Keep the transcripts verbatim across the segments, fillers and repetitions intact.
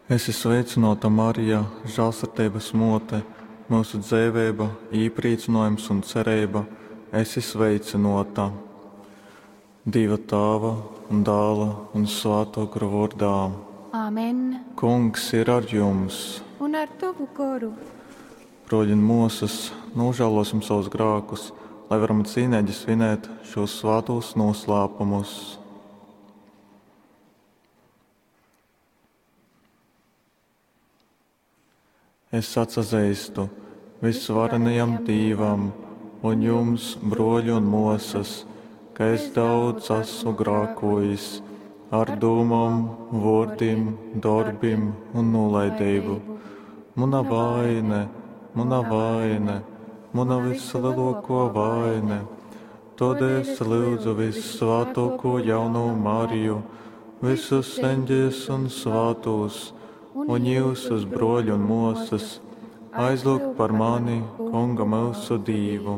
Esi sveicynōta, Marija, žālsirdeibas mōte, myusu dzeiveiba, īprīcynōjums un cereiba, esi sveicynōta. Dīva Tāva un Dāla un Svātō Gora vōrdā. Amen. Kungs ir ar jums! Un ar tovu goru. Brōļi un mōsas, nūžālōsim sovus grākus, lai varam cīneigi svinēt šūs svātūs nūslāpumus. Es atsazeistu vysvarenajam Dīvam un jums, brōļi un mōsas, ka es daudz esmu grākojis ar dūmom, vōrdim, dorbim un nūlaideibu. Muna vaine, muna vaine, muna vislielākā vaine. Tādēļ es lūdzu vissvātāko jauno Mariju, visus eņģeļus un svātos, un jūsus, brōļi un māsas, aizlūgt par mani, Kunga mūsu Dīvu.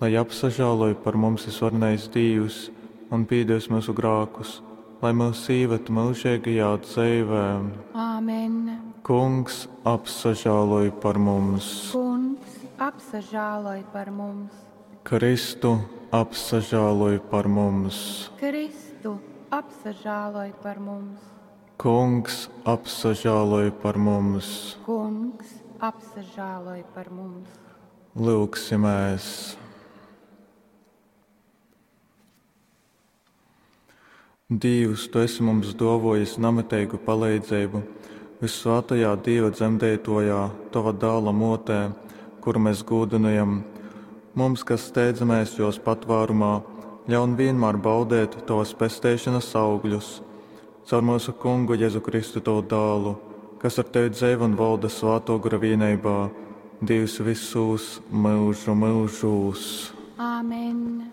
Lai apsažāloj par mums visvarenais Dīvs un pīdevis mūsu grākus, lai mūs īved mūžīgajā dzīvē. Āmen. Kungs apsažāloj par mums. Kungs apsažāloj par mums. Kristu apsažāloj par mums. Kristu apsažāloj par mums. Kungs apsažāloj par mums. Kungs apsažāloj par mums. Lūgsimies! Dīvs, Tu esi mums dōvojis namiteigu paleidzeibu vissvātajā Dīva dzemdeitojā, Tova dāla mōtē, kuru mēs gūdynojam. Mums, kas steidzamies jos patvārumā, ļaun vienmēr baudēt Tavas pesteišanas augļus. Caur mūsu Kungu Jēzu Kristu Tavu dālu, kas ar Tevi dzeivo un valda Svāto Gara vienībā, Dievs visus mūžu mūžos. Āmen.